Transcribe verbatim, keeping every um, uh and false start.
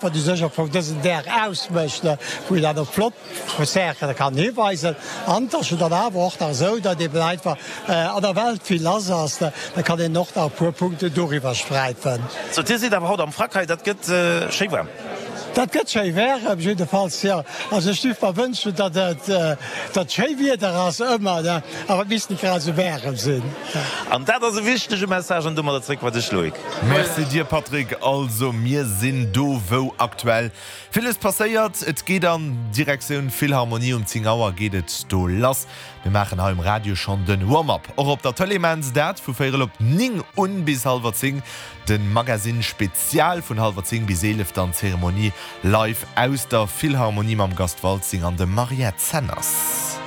Wat u sech och vun dësen Dag ausmécht, wou een dann op flott Concerte kann hiweisen. An et ass jo dann awer och nach esou, datt eben einfach an der Welt vill lass ass, da kann een och nach e puer Punkten doriwwer sträifen. Sou, Dir sidd awer haut am Frack hei, dat gëtt schéi waarm. Dat gëtt schéi waarem, jiddefalls, jo. Also ech géif mer wënschen, datt et datt schéi Wieder ass ëmmer, awer et misst net grad esou waarem sinn. An dat ass e wichtege Message an domadder zréck bei dech, Loïc. Merci dir Patrick. Also mir sinn do wou aktuell villes passéiert. Et geet an Direktioun Philharmonie. Um zéng Auer geet et do lass. Mir maachen hei um Radio schonn den Warm-up. Och op der Tëlee maachen se dat vu véierel op néng un bis hallwer zéng. Den Magazine Spezial vun hallwer zéng bis eelef, dann d'Zeremonie live aus der Philharmonie mam Gast Waltzing an dem Mariette Zenners.